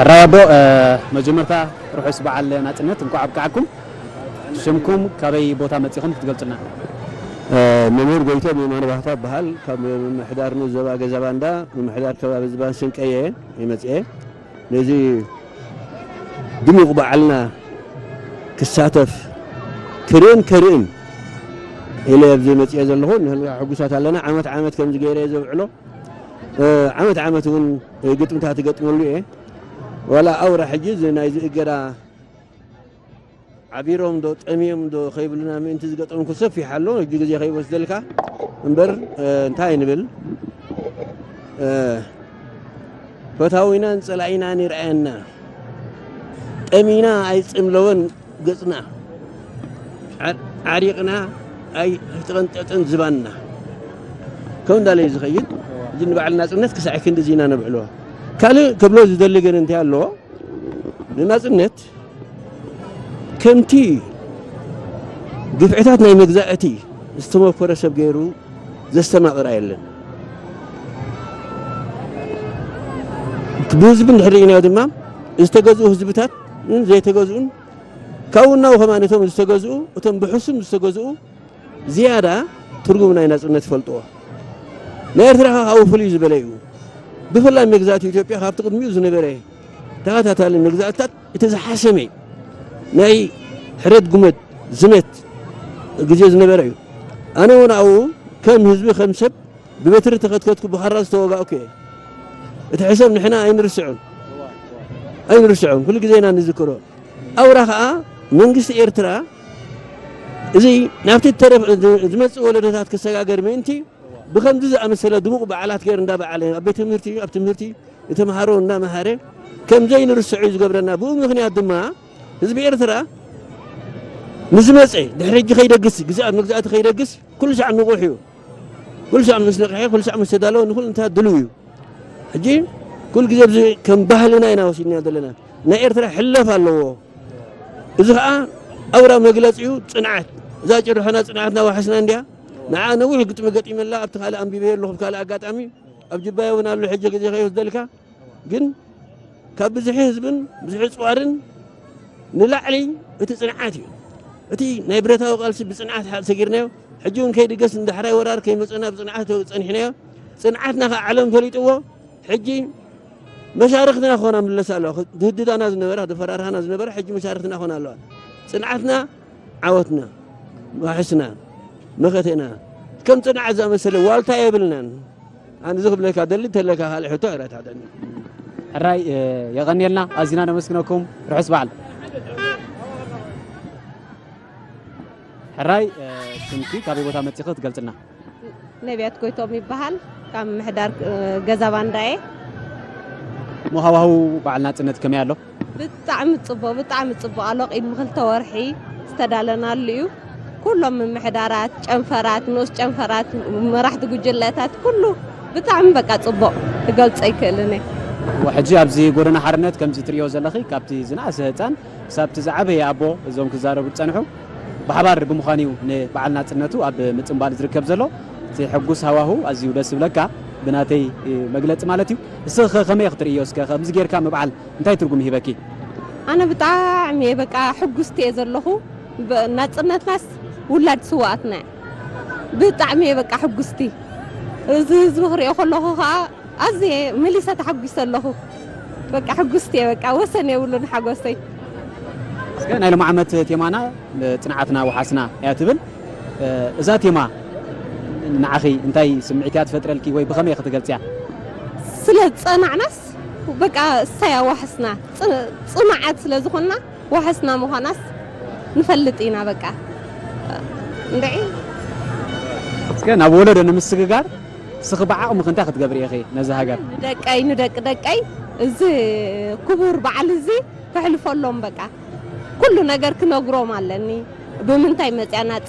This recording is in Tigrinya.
ሕራይ ኣቦ፣ መጀመርታ ርሑስ በዓል ናጽነት እንኳዕ ኣብቅዓኩም። ሽምኩም ካበይ ቦታ መጺኹም ክትገልጹልና? መምህር ጎይቶም የማነ ባህታ እበሃል። ካብ ምምሕዳር ንኡስ ዞባ ገዛ ባንዳ፣ ምምሕዳር ከባቢ ዝባን ስንቀየ ይመጽኤ። ነዚ ድሙቕ በዓልና ክሳተፍ ክርእን ከርእን ኢለ ኣብዚ መጽኤ ዘለኹ። ንሕና ሕጉሳት ኣለና። ዓመት ዓመት ከምዚ ገይረ እየ ዘብዕሎ። ዓመት ዓመት እውን ግጥምታት እገጥመሉ እየ። ዋላ ኣውራ ሕጂ እዚ ናይዚ እገዳ ዓቢሮም ዶ ጠምዮም ዶ ከይብሉና ምእንቲ ዝገጠምኩ ሰፊሕ ኣሎ። ሕጂ ግዜ ከይወስደልካ እምበር፣ እንታይ ንብል? ፈታዊናን ጸላኢናን ይርኣየና። ጠሚና ኣይጽምለወን ገጽና፣ ዓሪቕና ኣይተቐንጠጠን ዝባንና። ከም እንዳለ እዩ ዝኸይድ። እዚ ንበዓል ናጽነት ክሳዕ ክንዲ እዚ ኢና ነብዕሎ። ካልእ ክብሎ ዝደሊ ግን እንታይ ኣለዎ? ንናጽነት ከምቲ ግፍዕታት ናይ መግዛእቲ ዝተመኮረ ሰብ ገይሩ ዘስተማቕራ የለን። ብህዝቢ እንድሕር ርኢናዮ ድማ ዝተገዝኡ ህዝብታት ዘይተገዝኡን ካብኡ እናው ከማን እቶም ዝተገዝኡ እቶም ብሕሱም ዝተገዝኡ ዝያዳ ትርጉም ናይ ናጽነት ይፈልጥዎ። ናይ ኤርትራ ከኣ ካብኡ ፍልይ ዝበለ እዩ። ብፍላይ መግዛእቲ ኢትዮጵያ ካብቲ ቅድሚኡ ዝነበረ ተኸታታሊ መግዛእትታት እቲ ዝሓሰመ ናይ ሕረድ ጉመት ዝመት ግዜ ዝነበረ እዩ። ኣነ እውን ኣብኡ ከም ህዝቢ ከም ሰብ ብበትሪ ተኸትከትኩ ብኻራ ዝተወጋእኩ እየ። እቲ ሕሰብ ንሕና ኣይንርስዑን ኣይንርስዑን ኩሉ ግዜ ኢና ንዝክሮ። ኣውራ ኸኣ መንግስቲ ኤርትራ እዚ ናብቲ ተረፍ ዝመጽእ ወለዶታት ክሰጋገር ምእንቲ ብኸምዚ ዝኣመሰለ ድሙቕ በዓላት ገይሩ እንዳበዓለ ኣብ ቤት ትምህርቲ ኣብ ትምህርቲ ንተምሃሮ እንዳመሃረ ከም ዘይንርስዖ እዩ ዝገብረና። ብኡ ምኽንያት ድማ ህዝቢ ኤርትራ ንዝመጸ ድሕሪ ሕጂ ከይደግስ ግዝኣት መግዛእቲ ከይደግስ ኩሉ ሳዕ ንቑሕ እዩ። ኩሉ ሳዕ ምስ ነቕሐ ኩሉ ሳዕ ምስ ተዳለወ ንኹሉ እንታይ ድልው እዩ። ሕጂ ኩሉ ግዜ ኣብዚ ከም ባህልና ኢና ወሲድና ዘለና። ናይ ኤርትራ ሕለፍ ኣለዎ። እዚ ኸዓ ኣውራ መግለጺኡ ጽንዓት። እዛ ጭርሖና ጽንዓትና ዋሕስና እንድያ። ንዓ ነዊሕ ግጥሚ ገጢመላ ኣብቲ ካልእ ኣንቢበዮ ኣለኹ ብካልእ ኣጋጣሚ ኣብ ጅባየ እውን ኣሎ ሕጂ ግዜ ከይወስደልካ ግን ካብ ብዝሒ ህዝብን ብዝሒ ጽዋርን ንላዕሊ እቲ ጽንዓት እዩ። እቲ ናይ ብረታዊ ቃልሲ ብጽንዓት ሓ- ሰጊርናዮ። ሕጂ እውን ከይድገስ ንዳሕራይ ወራር ከይመጸና ብጽንዓት ጸኒሕናዮ። ጽንዓትና ከዓ ዓለም ፈሊጥዎ። ሕጂ መሻርኽትና ክኾና ምለስ ኣለዋ። ዝህድዳና ዝነበራ፣ ዝፈራርሃና ዝነበራ ሕጂ መሻርኽትና ክኾና ኣለዋ። ጽንዓትና ዓወትና፣ ዋሕስና፣ መኸተና። ከም ጽንዓት ዝኣመሰለ ዋልታ የብልናን። ኣነ እዚ ክብለካ ደሊ እንተለካ ካልእ ሕቶ ዕረት ሃደኒ። ሕራይ የቐንየልና፣ ኣዚና ነመስግነኩም። ርሑስ በዓል። ሕራይ ስምኪ ካበይ ቦታ መጺኺ ትገልጽልና? ነቢያት ጎይቶም ይበሃል። ካብ ምሕዳር ገዛ ባንዳየ። እሞ ሃዋህው በዓል ናጽነት ከመይ ኣሎ? ብጣዕሚ ጽቡቕ፣ ብጣዕሚ ጽቡቕ ኣሎ። ቅድሚ ክልተ ወርሒ ዝተዳለናሉ እዩ። ኩሎም ምምሕዳራት፣ ጨንፈራት፣ ንኡስ ጨንፈራት፣ መራሕቲ ጉጅለታት፣ ኩሉ ብጣዕሚ በቃ ጽቡቕ ክገልጾ ኣይክእልን እየ። ሕጂ ኣብዚ ጎደና ሓርነት ከምዚ ትርእዮ ዘለኺ ካብቲ ዝነኣሰ ህጻን ክሳብ እቲ ዝዓበየ ኣቦ እዞም ክዛረቡ ዝጸንሑ ብሓባር ብምዃን እዩ ንበዓል ናጽነቱ ኣብ ምጽንባል ዝርከብ ዘሎ። እቲ ሕጉስ ሃዋሁ ኣዝዩ ደስ ይብለካ ብናተይ መግለጺ ማለት እዩ። እስኺ ከ ከመይ ክትርእዮ እስከ ከምዚ ጌርካ ምብዓል እንታይ ትርጉም ይህበኪ? ኣነ ብጣዕሚ እየ በቃ ሕጉስቲ እየ ዘለኹ። ናጽነትናስ ውላድ ስውኣትና እያ። ብጣዕሚ እየ በቃ ሕጉስቲ። እዚ ህዝቢ ክሪኦ ከለኹ ከዓ ኣዝየ መሊሰ ተሓጒሰ ኣለኹ። በቃ ሕጉስቲ እየ በቃ ወሰን የብሉን ሓጎሰይ። እስከ ናይ ሎም ዓመት ቴማና ጽንዓትና ወሓስና እያ ትብል። እዛ ቴማ ንዓኺ እንታይ ስምዒት እያ ትፈጥረልኪ ወይ ብኸመይ ክትገልጽያ? ስለ ዝጸናዕናስ በቃ እሳያ ዋሕስና ጽ- ጽኑዓት ስለ ዝኾንና ዋሕስና ምዃናስ ንፈልጥ ኢና በቃ እንድዒ። እስከ ናብ ወለዶ ንምስግጋር እስኺ ብዓቕምኺ እንታይ ክትገብሪ ኢኺ ነዛ ሃገር? ንደቀይ ንደቂ ደቀይ እዚ ክቡር በዓል እዚ ከሕልፈሎም በቃ ኩሉ ነገር ክነግሮም ኣለኒ። ብምንታይ መፅያ ናፅነት